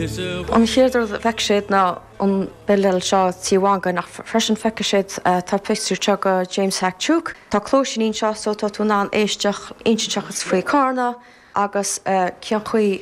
An chéad rud a bhfeicfidh siad ná an billéal seo Tí Mhangáin ach freisin feicfidh siad tá pictiúr anseo de James Hack Tuke. Tá cluaisíní anseo so tá tú in ann éisteacht, insint seachas faoi Carna agus cén chaoi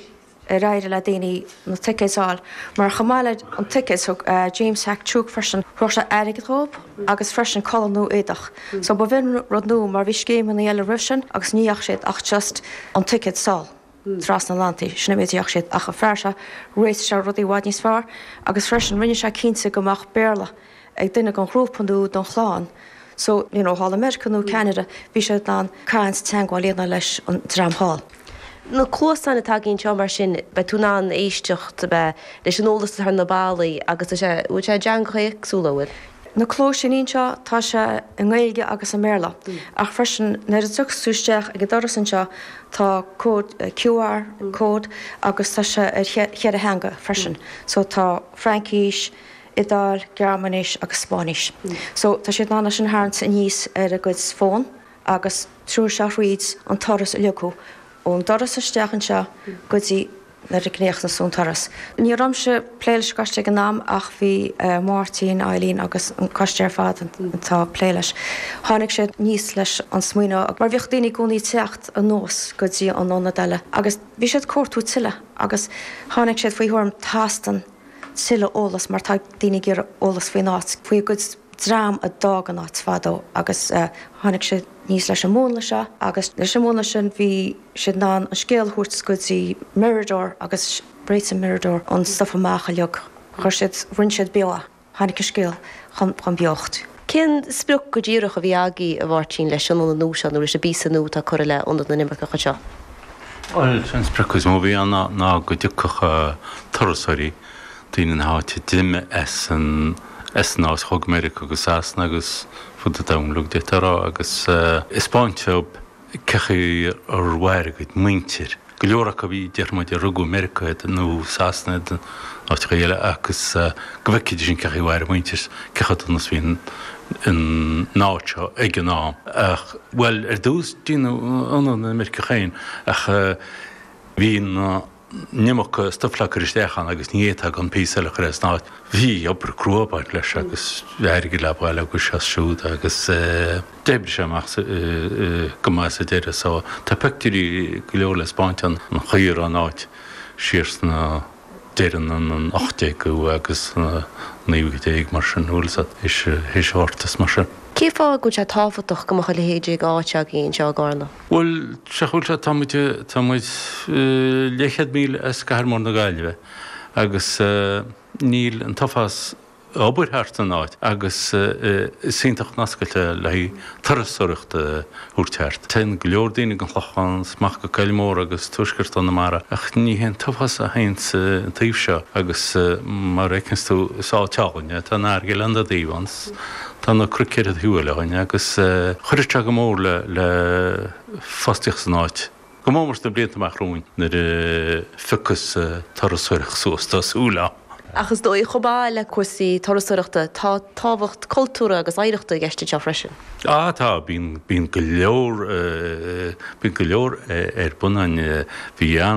ar éirigh le daoine na ticéid a fháil. Mar chomh maith le an ticéad thug James Hack Tuke freisin thabharfadh sé airgead dhóibh agus freisin culaith nó éadach. So ba bh'in rud nua mar bhí scéimeanna eile roimh sin agus ní dheachaigh siad ach just an ticéad sall trasna an Atlantaigh. Sin an méid a dheachaigh siad ach an fear seo réitigh sé rudaí i bhfad níos fearr agus freisin rinne sé cinnte go mbeadh Béarla ag duine den ghrúpa nó den chlann so you know thall i Meiriceá nó Ceanada bhí siad in ann caint teagmháil a dhéanamh leis an dream thall. Na cluasáin atá againn anseo mar sin, beidh tú in ann éisteacht leis an eolas atá ar na ballaí agus tá sé, bhfuil sé i dteangacha éagsúla, an bhfuil? Na cluaisíní anseo, tá sé i nGaeilge agus i mBéarla ach freisin nuair a thiocfas tú isteach ag an doras anseo tá cód QR code agus tá sé ar cheithre theanga freisin so tá Fraincís, Iodáil, Gearmáinis agus Spáinnis. So tá siad in ann é sin a tharraingt aníos ar a gcuid fón agus treoróidh sé thríd an turas uilig thú, ón doras isteach anseo go dtí nuair a chríochnaíos tú an turas. Ní raibh mise ag plé leis an gcoiste ag an am ach bhí Máirtín, Eileen agus an coiste ar fad atá ag plé leis. Tháinig siad aníos leis an smaoineamh mar bhíodh daoine i gcónaí ag teacht anuas go dtí an ionad eile agus bhí siad ag cuartú tuilleadh agus tháinig siad faoi thuairim teastaíonn tuilleadh eolas mar tá daoine ag iarraidh eolas faoin áit, faoi a gcuid dream a d'fhág an áit fadó agus tháinig siad aníos leis an múnla seo agus leis an múnla sin bhí siad in ann an scéal a thabhairt go dtí Mirador agus réitigh Mirador an stuif amach uilig. Chuir siad, rinne siad beo é. Tháinig an scéal chun beocht. Cén sprioc go díreach a bhí agaibh, a Mháirtín, leis an ionad nua seo nó leis an bpíosa nua atá curtha le Ionad na nImirceach anseo? Bhuel, sé an sprioc is mó a bhí ann ná go dtiocfadh turasóirí, daoine na háite a d'imigh as an as an áit, a chuaigh go Meiriceá agus Sasana agus fud an domhain uilig d'fhéadfá a rá, agus 'spáint dóibh cé chaoi ar mhair a gcuid muintir. Go leor acu a bhí, déarfaidh muid, a rugadh i Meiriceá iad nó Sasana iad nó áiteacha eile agus go bhfeicfidís an cé chaoi a mhair a muintir, cé chomh dona is a bhí an áit seo ag an am. Ach, bhuel, ar dtús, déanadh Ionad na nImirceach féin ach bhí na. an iomarca stuif le cur isteach ann agus ní fhéadfá gan píosa eile a chur as an áit. Bhí obair crua ag baint leis agus airgead le bailiú agus seo is siúd agus d'oibrigh sé amach go maith sa deireadh so tá pictiúirí go leor le 'spáint ann an chaoi a raibh an áit siar sna deireadh an 18ú agus na 19ú mar sin, bhfuil 'fhios a'd, théis an Ghorta is mar sin. Cén fáth go bhfuil sé tábhachtach go mbeadh a leithéid d'áit againn anseo i gCarna? Bhuel, sea, bhuel, sea, tá muid, tá muid leathchéad míle as cathair mór na Gaillimhe agus níl an t-uafás obair thart san áit agus is iontach an oscailt é le haghaidh turasóireacht a thabhairt thart. Téann go leor daoine go an Chlochán is amach go Coill Mór agus tuaisceart Chonamara ach ní hé an t-uafás a théann an taobh seo agus mar a fheiceanns tú is áit álainn é, tá an fharraige le an dá thaobh ann. Tá na cnoic ar an taobh eile againn agus chuirfeadh sé go mór le fostaíocht san áit, go mór mór sna blianta amach romhainn nuair a phiocfas turasóireacht suas, tá súil agam. Ach is dóigh, chomh maith le cúrsaí turasóireachta, tá tábhacht cultúrtha agus oidhreachta i gceist anseo freisin. Á tá, bíonn, bíonn go leor, bíonn go leor ar bun ann. Bhí an.